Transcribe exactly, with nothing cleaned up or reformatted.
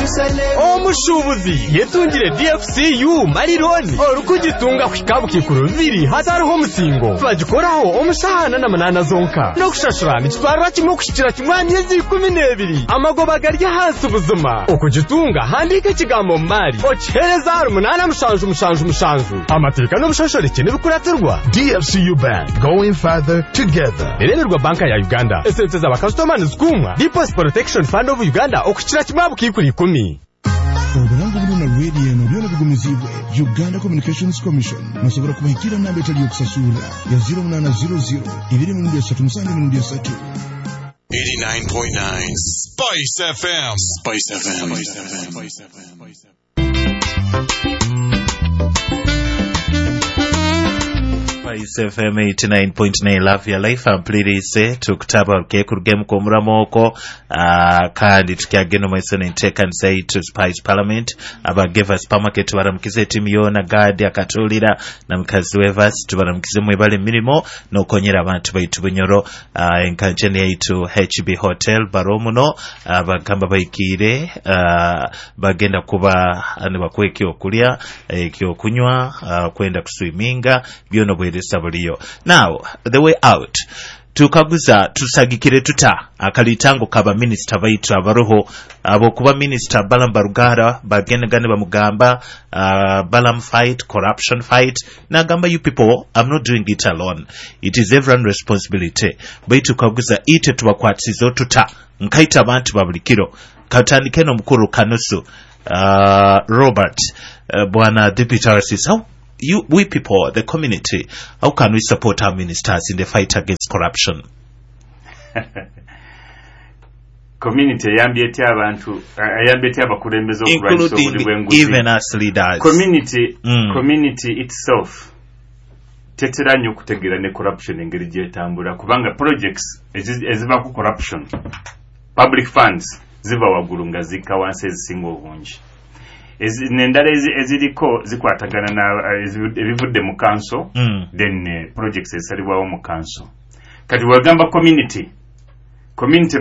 Omushubuzi yetungire D F C U Money Loan, orikugitunga kuhika bukikuru bibiri hatariho omusingo. Bagikoraho omushahana na munana zonka, n'okushashura nikitwarira kimwe okushikira kimwe aha myezi ikumi n'ebiri. Amagoba gari ahansi buzima. Okugitunga, handiika ekigambo "mali" okihereza ahari munaana mushanju mushanju mushanju. Amateeka n'obushoshorekye nibikuratirwa. D F C U Bank, going further together. Ereberwa Banka ya Uganda. Esente z'abakasitoma nizikumwa Deposit Protection Fund of Uganda okukira kimwe aha bukiikuru ikumi. Oburango buno na rediyo eno byona bigumizibwe Uganda Communications Commission. Nosobola kubahikira namba etali yokusasura ya zero munana zero zero ibiri emirundi esatu musanju emirundi esatu. eighty-nine point nine Spice F M. Spice F M. Spice F M. Spice F M eighty-nine point nine, Love Your Life. Ampuliriise tukutaba kekurugemu kwomuramo uh, kandi tukyagenda omaiso nenteekanisa yaitu Spice Parliament. Abageva Supermarket tubaramukize, etimu yoona, gadi akatulira na mukazi wevas, tubaramukize, mwebale emirimo nokonyera abantu baitu Bunyoro. uh, enkanjani yaitu H B Hotel baromuno, uh, bagamba baikire, uh, bagenda kuba nibakuwa ekyokulya, ekyokunywa, uh, kwenda kuswiminga, byona obweresa buliyo. Now, the way out, tukaguza tusagikire tuta akalitango kaba minisita baitu abaroho abokuba Minisita Balam Barugara bagendagane bamugamba, uh, "Balam, fight corruption, fight." Nagamba, "You people, I'm not doing it alone, it is everyone responsibility." Baitu kaguza ite tubakwatizo tuta nkaita abantu ba buli kiro? Katandike n'omukuru Kanusu uh, Robert, uh, bwana Deputy R C C, how you, we people, the community, how can we support our ministers in the fight against corruption? Community eyambye etya abantu, eyambye etya abakulembeze okulwanyisa obuli including bw'enguzi? Even us leaders. Community, Mm. community itself tetera nnyo okutegeera ne corruption engeri gyetambula, kubanga projects ezi- eziva ku corruption, public funds ziva waggulu nga zikka wansi ezisinga obungi. Ezi- nendala ezi- eziriko zikwatagana na ezi- ebivudde mu council, Mm. then eh, projects ezisalibwawo mu council. Kati wagamba community community